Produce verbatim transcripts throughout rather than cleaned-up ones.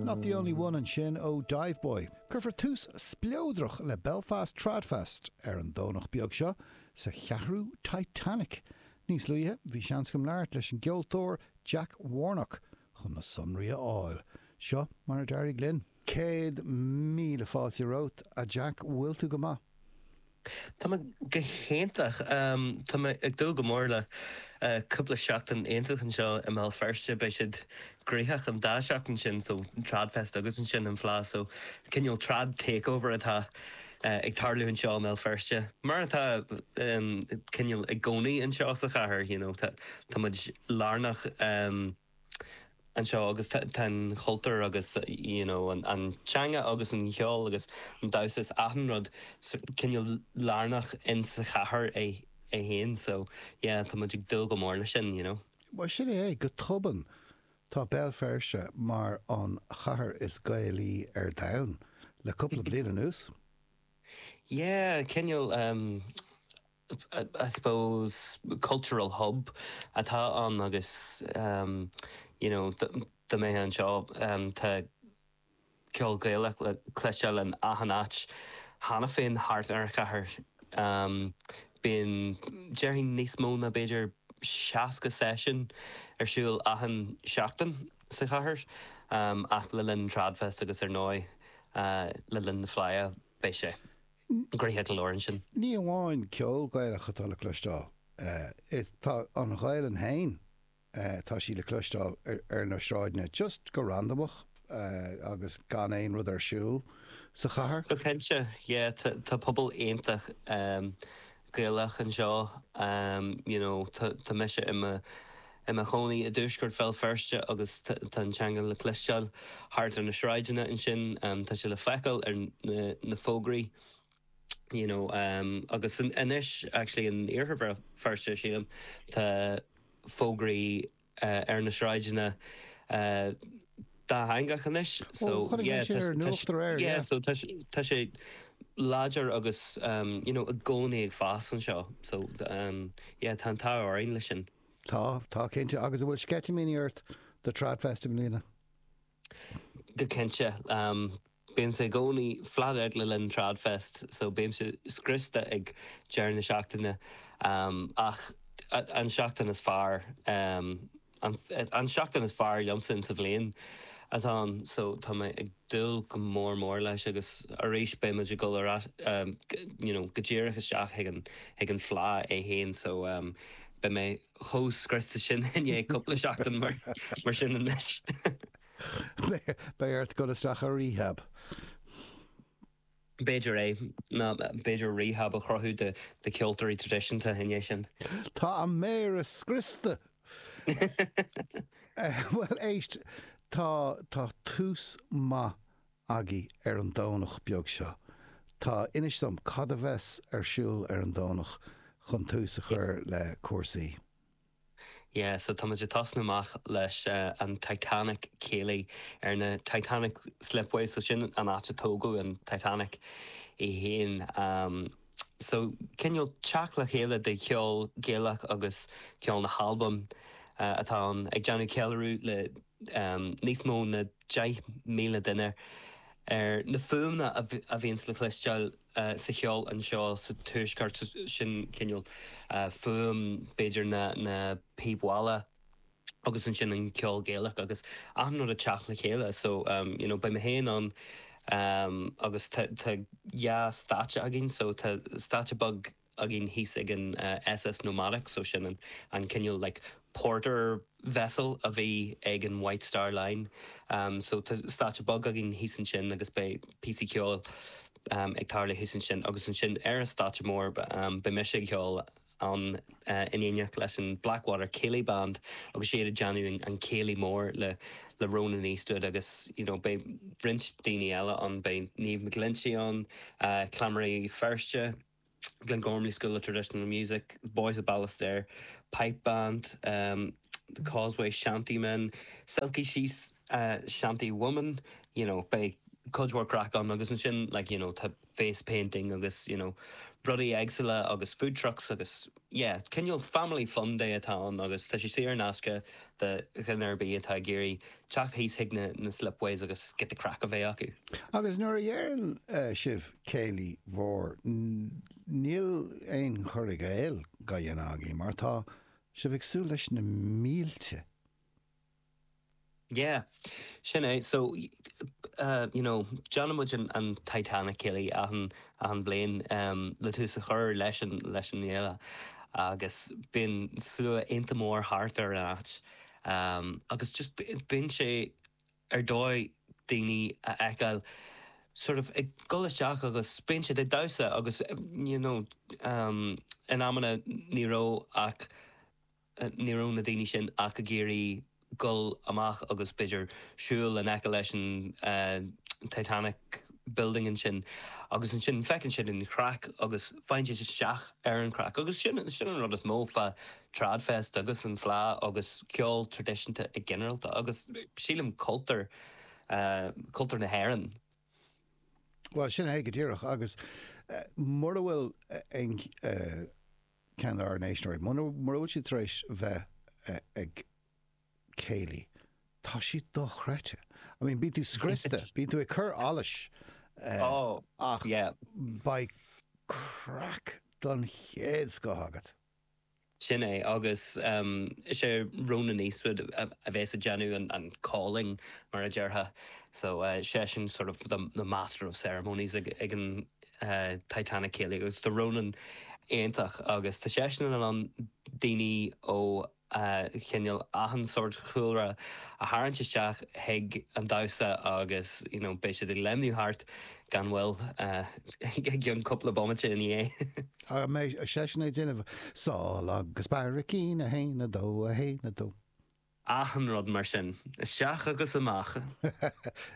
Not the Only One ansin ó Diveboy. Cuirfear tús spleodrach le Belfast Tradfest ar an Domhnach beag seo sa cheathrú Titanic. Níos luaithe bhí seans agam labhairt leis an gceoltóir Jack Warnock chun na sonraí a fháil. Seo mar a d'éirigh linn. Céad míle fáilte romhat a Jack bhfuil tú go maith. Tá mé go hiontach Tá mé ag dúil go mór le cúpla seachtain iontach anseo i mBéal Feirste beidh siad gnoitheach an dá seachtain sin so Tradfest agus ansin an Fleadh so cineál trad takeover atá ag tarlú anseo i mBéal Feirste. Mar atá cineál i gcónaí anseo sa chathair you know, tá muid lárnach um, anseo agus tá an cultúr agus you know, an, an teanga agus an ceol agus an damhsa is achan rud cineál lárnach in sa chathair é é féin so yeah, tá muid ag dúil go mór leis sin you know. Well sin é go tobann tá Béal Feirste mar an chathair is Gaelaí ar domhan le cúpla bliain anuas. Yeah, cineál um, I, I suppose cultural hub atá ann agus um, you know, do mé anseo um, tá ceol Gaelach le cloisteáil in achan áit cheana féin thart ar chathair um, bíonn déarfainn níos mó ná b'fhéidir seasca session ar siúl achan seachtain sa chathair um, ach le linn Tradfest agus ar ndóigh uh, le linn na Fleidhe beidh sé gnoitheach go leor sin. Ní amháin ceol Gaelach atá le cloisteáil. Uh, tá an Ghaelainn féin uh, tá sí le cloisteáil ar, ar na sráideanna just go randamach uh, agus gan aon rud ar siúl sa chathair. Go cinnte yeah, tá pobal iontach um, Gaelach anseo um, you know, tá mise i mo i mo chónaí i dtuaisceart Bhéal Feirste agus tá an teanga le cloisteáil thart ar na sráideanna ansin um, tá sé le feiceáil ar na, na fógraí. You know, um, agus anois actually in iarthar Feirste sílim tá fógraí uh, ar na sráideanna uh, dátheangach anois so yeah, yeah, so tá sé láidir agus um, you know, i gcónaí ag fás anseo so um, yeah, tá an t-ádh orainn leis sin. Tá tá cinnte agus an bhfuil sceitimíní ort do Tradfest i mbliana. Go cinnte um, Bímse i gcónaí flat out le linn Tradfest, so bímse scriosta ag deireadh na seachtaine um, ach an seachtain is fearr um, an, an seachtain is fearr liomsa sa bhliain atá ann so tá mé ag dúil go mór mór leis agus arís beidh ag dul ar um, you know, go díreach isteach chuig an chuig an Fleadh é féin so um, beidh mé chomh scriosta sin inné cúpla seachtain mar mar sin anois. Beidh ort dul isteach ar rehab. B'fhéidir é ná b'fhéidir rehab a chruthú de de ceoltóirí traidisiúnta inné sin. Tá an méara scriosta. Well éist tá tá tús maith agaibh ar an Domhnach beag seo. Tá inis dom cad a bheas ar siúl ar an Domhnach chun tús a chur le cúrsaí. Yeah, so tá muid ag tosnú amach leis uh, an Titanic Céilí ar na Titanic Slipway so sin an áit a tógadh an Titanic é féin. Um, so cineál teacht le chéile de cheol Gaelach agus ceol na hAlban uh, atá an ag déanamh ceiliúradh le um, níos mó ná deich míle duine ar na fuaimeanna a bhíonn le cloisteáil uh, sa cheol anseo sa tuaisceart sin cineál uh, fuaim b'fhéidir na, na píob agus ansin an ceol Gaelach agus achan rud ag teacht le chéile so um, you know, beidh mé féin ann um, agus tá dhá stáitse againn so tá stáitse beag againn thíos ag an uh, SS Nomadic so sin an, an cineál like, porter vessel a bhí ag an White Star Line um, so tá stáitse beag againn thíos ansin agus beidh píosa ceoil um, ag tarlú thíos ansin agus ansin ar an stáitse mór um, beidh mise ag ceol an uh, in éineacht leis an Blackwater Céilí Band agus siad ag déanamh an, an céilí mór le le Ronan Eastwood agus you know, beidh roinnt daoine eile ann beidh Niamh McGlinchey ann uh, Cleamairí Feirste, Glengormley School of Traditional Music, Boys of Ballystaire, Pipe Band, um, the Causeway Shantymen, Silky She's uh, Shanty Woman, you know, beidh cuid mhór craic ann agus ansin like you know tá face painting agus you know rudaí éagsúla agus food trucks agus yeah cineál family fun day atá ann agus tá sé saor in aisce do dhuine ar bith atá ag iarraidh teacht thíos chuig na na slipways agus giota craic a bheith acu. Agus nuair a deireann sibh céilí mhór, níl aon chur i gcéill á dhéanamh agaibh mar tá sibh ag súil leis na mílte. Yeah, sin é. So, uh, you know, déanann muid an, an Titanic Céilí achan, achan bliain um, le tús a chur leis an, leis an fhéile agus bíonn slua iontach mór thart ar an áit. Um, agus just bíonn sé ar dóigh daoine a fheiceáil sort of ag dul isteach agus bíonn siad ag damhsa agus you know, um, in amanna ní raibh ach ní raibh na daoine sin ach ag iarraidh dul amach agus b'fhéidir siúl in aice leis an uh, Titanic building ansin agus ansin feiceann siad an chraic agus faigheann siad isteach ar an chraic agus sin sin an rud is mó fá Tradfest agus an Fleadh agus ceol traidisiúnta i ginearálta agus sílim cultúr uh, cultúr na hÉireann. Well sin é go díreach agus uh, mura bhfuil aon uh, ceann ár n-éisteoirí, mura bhfuil siad tar éis bheith uh, ag céilí. Tá siad dochreidte. I mean, bíonn tú scriosta, bíonn tú ag cur allais uh, oh, ach yeah. beidh craic don chéad scoth agat. Sin é agus um, is é Ronan Eastwood a, a bheas ag déanamh an, an calling mar a déarfá so uh, seisean sort of the, the master of ceremonies ag, ag an uh, Titanic Céilí agus tá Ronan iontach agus tá seisean in ann daoine ó uh, chineál achan sórt chúlra a tharraingt isteach chuig an damhsa agus you know, beidh siad ag léimniú thart gan mhoill uh, ag cúpla bomaite ina dhiaidh. A mbeidh seisean ag déanamh sál agus barraicín a haon a dó a haon a dó. Achan rud mar sin, isteach agus amach.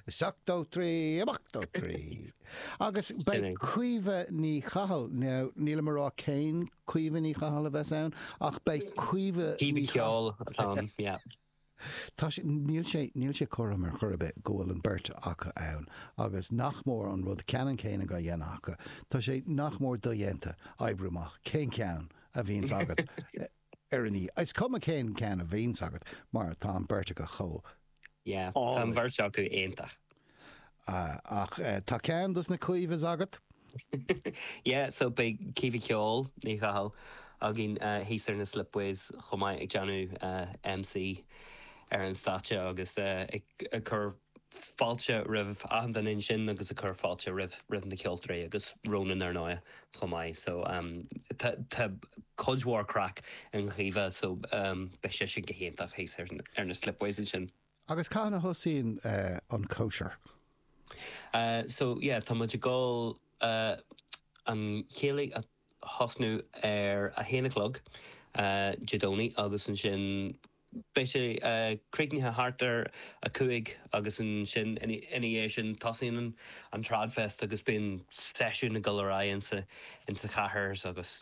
Seacht dó trí amach dó trí. Agus beidh Caoimhe Ní Chathail níl mé ag rá cén Caoimhe Ní Chathail a bheas ann ach beidh Caoimhe Caoimhe Ceol atá yeah. Tá níl sé níl sé cothrom ar chor ar bith go bhfuil an beirt acu ann agus nach mór an rud ceannann céanna á dhéanamh acu. Tá sé nach mór dodhéanta oibriú amach cén ceann a bhíonns agat ar an oíche. Is cuma cén ceann a bhíonns agat mar tá an beirt acu chomh. Yeah, tá an bheirt acu iontach. Uh, ach uh, tá ceann dos na Caoimhes agat? yeah, so beidh Caoimhe Ceol Ní Chathail againn uh, thíos ar na slipways chomh maith ag déanamh uh, MC ar an stáitse agus uh, ag, ag cur fáilte roimh achan duine ansin agus ag cur fáilte roimh roimh na ceoltóirí agus Ronan ar ndóigh chomh maith so um, tá cuid mhór craic ag Caoimhe so um, beidh sé sin go hiontach thíos ar, ar na slipways ansin. Agus cathain a thosaíonn uh, an cóisir? Uh, so yeah, tá muid ag dul uh, an céilí a thosnú ar a haon a chlog uh, Dé Domhnaigh agus ansin beidh sé uh, críochnaithe thart ar a cúig agus ansin ina dhiaidh sin tosaíonn an, an Tradfest agus bíonn seisiún ag dul ar aghaidh insa insa chathair agus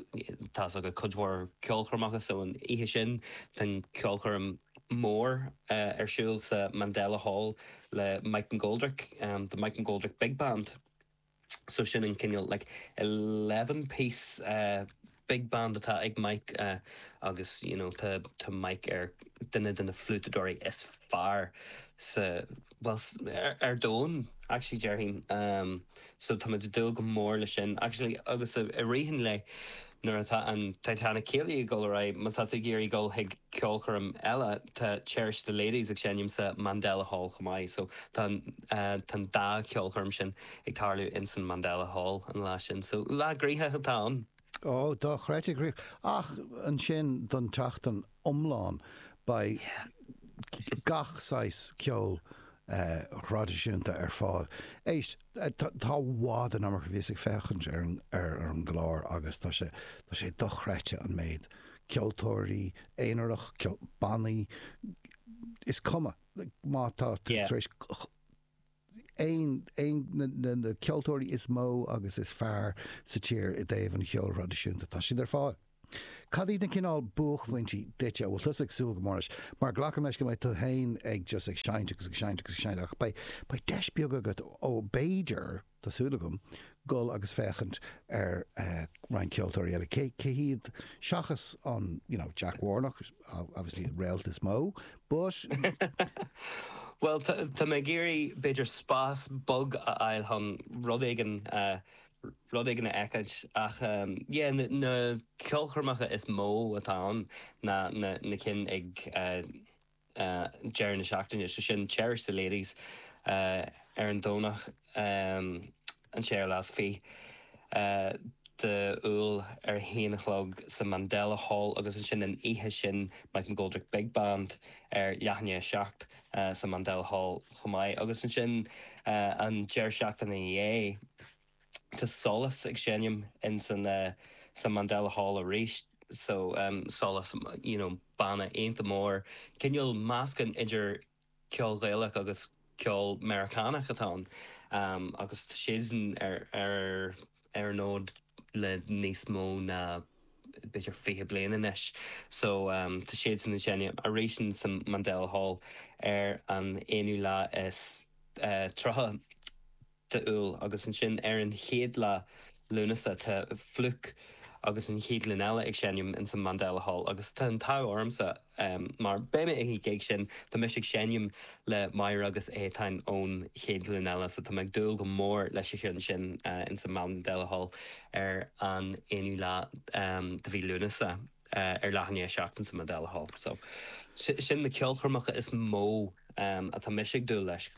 tá agus cuid mhór ceolchoirmeacha so an oíche sin tá ceolchoirm mór uh, ar siúl sa Mandela Hall le Mike McGoldrick, um, the Mike McGoldrick Big Band. So sin an cineál like eleven piece uh, big band atá ag Mike uh, agus you know, tá, tá Mike ar duine de na fliútadóirí is fearr sa well, ar, ar domhan actually déarfainn um, so tá muid ag dúil go mór leis sin actually agus i rith an lae nuair atá an Titanic Céilí ag dul ar aghaidh má tá tú ag iarraidh dul chuig ceolchoirm eile tá Cherish the Ladies ag seinm sa Mandela Hall chomh maith so tá uh, tá dá ceolchoirm sin ag tarlú in san Mandela Hall an lá sin so lá gnoitheach atá ann. Ó dochreidte gnoitheach ach ansin don tseachtain iomlán beidh gach saghas ceol uh, thraidisiúnta ar fáil. Éist tá bhd an amach bhís ag féachaint ar, ar, ar an gclár agus tá sé tá sé dochreidte an méid ceoltóirí aonarach bannaí is cuma má tá Yeah. tar éis aon aon na, na, na ceoltóirí is mó agus is fearr sa tír i dtaobh an cheoil thraidisiúnta tá siad ar fáil. Cad iad na cineál buaicphointí duitse bhfuil tusa ag súil go mór leis, mar glacaim leis go mbeidh tú féin ag just ag seinnt agus ag seinnt agus ag seinnt ach beidh beidh deis beag agat ó b'fhéidir tá súil agam dul agus féachaint ar uh, roinnt ceoltóirí eile. Cé cé hiad seachas an you know, Jack Warnock, obviously réalt is mó, but Well tá mé ag iarraidh b'fhéidir spás beag a fháil chun rud éigin uh, rud éigin a fheiceáil ach um, yeah, na, na ceolchoirmeacha is mó atá ann na, na, na cinn ag uh, uh, deireadh na seachtaine so sin Cherish the Ladies uh, ar an Domhnach um, an séú lá is fiche uh, d'Iúil ar a haon a chlog sa Mandela Hall agus ansin an oíche sin Mike McGoldrick Big Band ar leathuair tar éis a seacht uh, sa Mandela Hall chomh maith agus ansin uh, an deireadh seachtaine ina dhiaidh Tá Solas ag seinm in san uh, sa Mandela Hall arís so um, Solas you know, banna iontach mór cineál meascán idir ceol Gaelach agus ceol Meiriceánach atá ann um, agus siadsan ar ar ar an fhód le níos mó ná b'fhéidir fiche bliain anois. So um, tá siadsan ag seinm arís sa Mandela Hall ar an aonú lá is uh, tríocha d'Iúil agus ansin ar an chéad lá Lúnasa tá Flook agus an Chéad Ghlúin Eile ag seinm in san Mandela Hall agus tá an t-ádh ormsa um, mar beidh mé ag an gig sin tá mise ag seinm le Máire agus Étáin ón Chéad Ghlúin Eile so tá ag dúil go mór leis an sin uh, in san Mandela Hall ar an aonú lá um, de mhí Lúnasa uh, ar leathuair tar éis a seacht sa Mandela Hall. So sin na ceolchoirmeacha is mó um, atá mise ag dúil leis.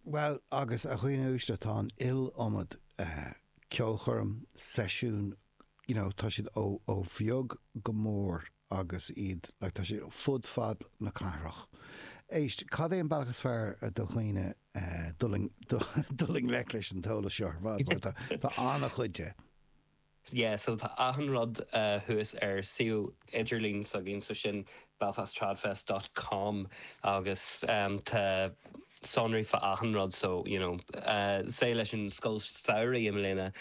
Well agus a dhaoine uaisle tá an iliomad uh, ceolchoirm seisiún you know, tá siad ó ó bheag go mór agus iad like, tá siad fud fad na cathrach. Éist, cad é an bealach is fearr do dhaoine uh, dul i ngleic leis an t-eolas seo ar tá an-chuid de. Yeah, so tá achan rud uh, thuas ar suíomh idirlín s'againn so sin belfasttradfest.com agus um, tá sonraí fá achan rud so you know, uh, sé leis an scoil samhraidh i mbliana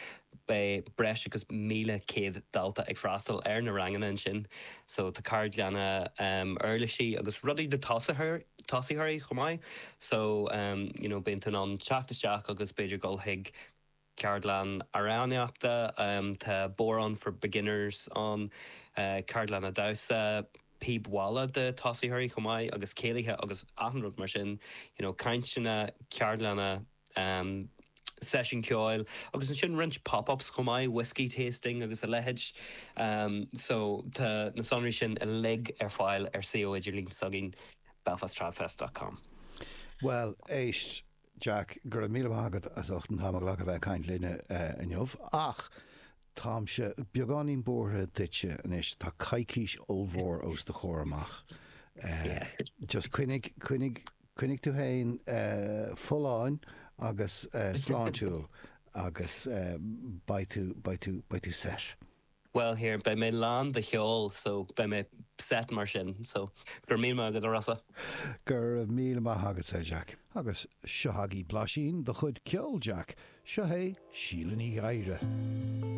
beidh breis agus míle céad dalta ag freastal ar na ranganna ansin so tá ceardlanna um, uirlisí agus rudaí do tosaitheoirí chomh maith so um, you know, bíonn tú in ann teacht isteach agus b'fhéidir dul chuig ceardlann amhránaíochta um, tá bodhrán for beginners an uh, ceardlanna damhsa píb mhalla do tosaitheoirí chomh maith agus céilithe agus achan rud mar sin you know, cainteanna ceardlanna um, seisiún ceoil agus ansin roinnt pop-ups chomh maith whiskey tasting agus a leithéid um, so tá na sonraí sin uilig ar fáil ar suíomh idirlín s'againn belfasttradfest.com. Well éist Jack go raibh míle maith agat as ucht an t-am a ghlacadh bheith ag caint linne uh, inniu ach táimse beagáinín buartha duitse anois tá coicís ollmhór os do chomhair amach. Uh, just coinnigh coinnigh coinnigh tú féin uh, folláin agus uh, sláintiúil agus uh, beidh tú beidh tú beidh tú set. Well here beidh mé lán de cheol so beidh mé set mar sin so gur mí go rasa. Gur míle maith agat sé Jack. Agus seo agaibh blaisín de chuid ceol Jack, seo é Síle Ní Ghadhra.